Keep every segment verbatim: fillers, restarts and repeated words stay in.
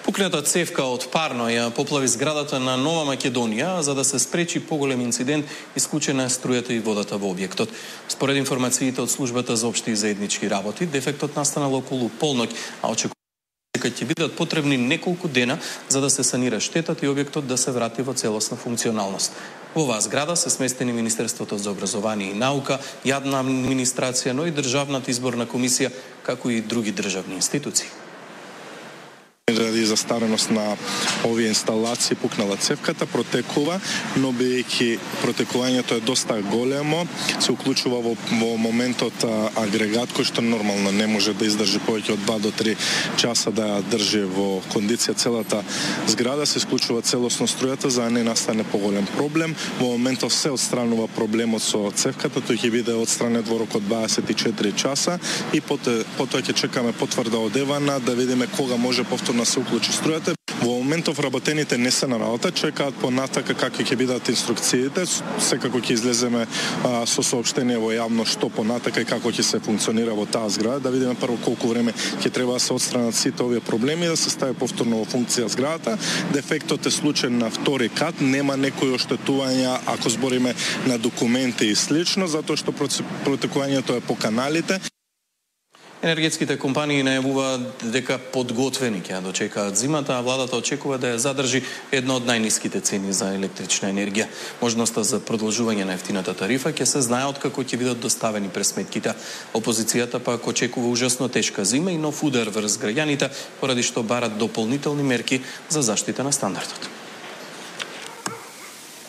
Пукната цевка од парно ја поплави зградата на Нова Македонија, за да се спречи поголем инцидент, исклучена струјата и водата во објектот. Според информациите од службата за општи и заеднички работи, дефектот настанал околу полноќ, а очекува дека ќе бидат потребни неколку дена за да се санира штетата и објектот да се врати во целосна функционалност. Во оваа зграда се сместени Министерството за образование и наука, јадна администрација, но и Државната изборна комисија, како и други државни институции. Заради застареност на овие инсталации пукнала цевката, протекува, но бидејќи протекувањето е доста големо, се уклучува во, во моментот а, агрегат кој што нормално не може да издржи повеќе од два до три часа да ја држи во кондиција целата зграда, се исклучува целосно струјата за да не настане поголем проблем. Во моментот се отстранува проблемот со цевката, тој ќе биде отстранет во рок од дваесет и четири часа и потоа, потоа ќе чекаме потврда од Евана да видиме кога може повторно да се уклучи струјата. Во моментов работените не се на работа, чекаат понатака какви ќе бидат инструкциите. Секако ќе излеземе а, со соопштение во јавно што понатака и како ќе се функционира во таа зграда, да видиме прво колку време ќе треба да се отстранат сите овие проблеми и да се стави повторно во функција зградата. Дефектот е случаен на втори кат, нема некои оштетувања ако збориме на документи и слично, затоа што протекувањето е по каналите. Енергетските компании најавуваат дека подготвени ќе ја дочекаат зимата, а владата очекува да ја задржи една од најниските цени за електрична енергија. Можноста за продолжување на ефтината тарифа ќе се знае откако ќе бидат доставени пресметките. Опозицијата пак очекува ужасно тешка зима и нов удар врз граѓаните, поради што барат дополнителни мерки за заштита на стандардот.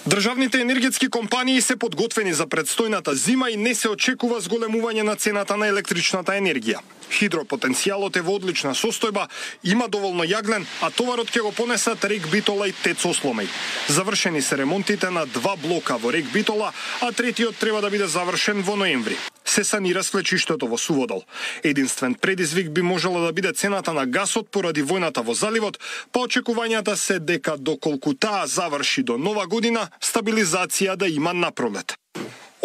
Државните енергетски компании се подготвени за предстојната зима и не се очекува зголемување на цената на електричната енергија. Хидропотенцијалот е во одлична состојба, има доволно јаглен, а товарот ќе го понесат Рек Битола и ТЕЦ Осломеј. Завршени се ремонтите на два блока во Рек Битола, а третиот треба да биде завршен во ноември. Се санира свлечиштето во Суводол. Единствен предизвик би можела да биде цената на гасот поради војната во заливот, па очекувањата се дека доколку таа заврши до нова година, стабилизација да има напролет.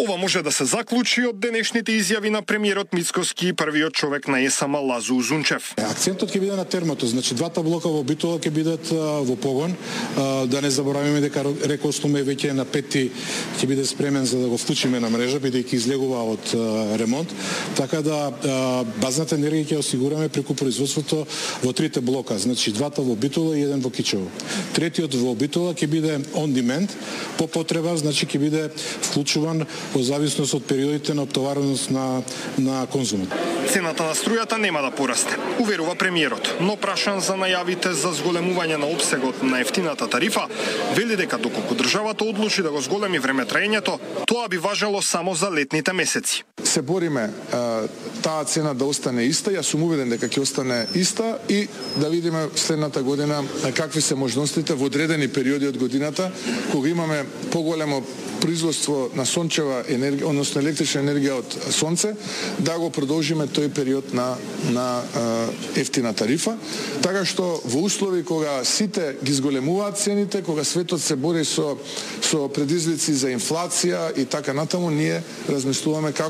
Ова може да се заклучи од денешните изјави на премиерот Мицкоски и првиот човек на ЕСМ Лазу Узунчев. Акцентот ќе биде на термото, значи двата блока во Битола ќе бидат а, во погон. А, да не заборавиме дека Рек Осломеј веќе на пети ќе биде спремен за да го вклучиме на мрежа, бидејќи излегува од а, ремонт. Така да а, базната енергија ќе осигураме преку производството во трите блока, значи двата во Битола и еден во Кичево. Третиот во Битола ќе биде on demand, по потреба, значи ќе биде вклучуван во зависност од периодите на оптовареност на, на конзумот. Цената на струјата нема да порасте, уверува премиерот, но прашан за најавите за зголемување на опсегот на ефтината тарифа, вели дека доколку државата одлучи да го зголеми времетраењето, тоа би важело само за летните месеци. Се бориме таа цена да остане иста, јас сум уведен дека ќе остане иста и да видиме следната година какви се можностите во одредени периоди од годината, кога имаме поголемо производство на сончева енергија, односно електрична енергија од сонце, да го продолжиме тој период на на ефтина тарифа, така што во услови кога сите ги зголемуваат цените, кога светот се бори со со предизвици за инфлација и така натаму, ние размислуваме како